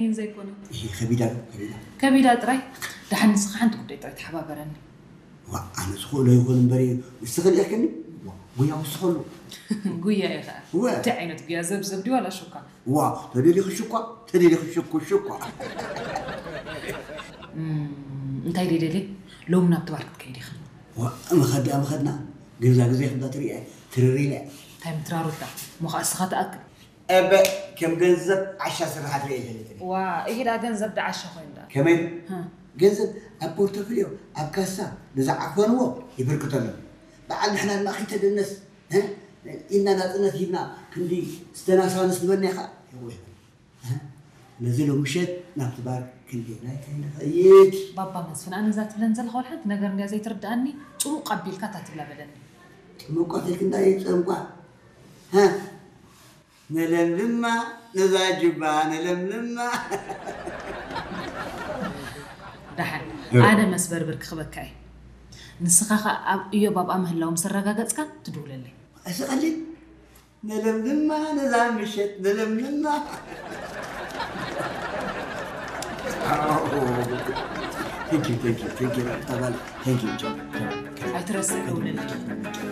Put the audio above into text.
ይን ዘይኮነ። ይሄ ከቢዳ ነው፣ ከቢዳ። ከቢዳ ጥራይ። ደሓን ንስኻ ሓንቲ ጉዳይ ጥራይ ተሓባበረኒ። ዋ፣ ኣነ ዝኽእሎ ይኹን እምበር እዩ። ንስኺ ልኢኽክኒ? ዋ፣ ጉያ ወስኸሉ። ጉያ እዩ ኸዓ። እወ። እንታይ ዓይነት ጉያ? ዘብዘብ ድዩ ዋላ ሹካ? ዋ፣ ተደሊኺ ሽኳ፣ ተደሊኺ ሽኩ ሽኳ። እም፣ እንታይ ደደሊ? ሎም ናብ ትባር ክትከይድ ኢኻ። ዋ፣ መኸዳ መኸድና። ግንዛ ግዜ ክንዳ ትሪአ ትርሪለ። እንታይ ምትራሩታ? ሞኻእስኻ ትኣክል። እበ ከም ገንዘብ ዓሻ ስራሓት ርእየ ዘለትኒ። ዋ፣ ኢሂዳ ገንዘብ ደዓሻ ኮይኑ ደኣ። ከመይ? ሃ። ገንዘብ ኣብ ፖርቶፍልዮ፣ ኣብ ካሳ ንዝዓፈንዎ ይብርክተሎም። በዓል ንሕና ድማ ኺተደነስ፣ እ? ኢልና ናጽነት ሂብና ክንዲ ዝተናሳንስ ንበና ኢኻ። የወይ። እ? ነዚ ሎምሸት ናብቲ ባር ክንዲ ናይ ከይንኸይድ። ባባ መስፍን፣ ኣነ እዛ ትብለን ዘለኻ ወላ ሓንቲ ነገር እንድያ ዘይትርድኣኒ፣ ጽሙቕ ኣቢልካ እታ ትብላ በለኒ። ጥሙቋት ኢልክና ይጸምቋ። እ? ነለምልማ ነዛ ጅባ ነለምልማ። ደሓን ኣነ መስበርብር ክኽበካ እየ። ንስኻ ኸኣ ኣብ እዮብ ኣብኣ ምህላው ምስ ኣረጋገጽካ ትድውለለይ። እዚ ቀሊል ነለምልማ ነዛ ምሸት ነለምልማ። Thank you, thank you, thank you, ተባለ። Thank you, John. ኣይትረስዕ ደውለለይ።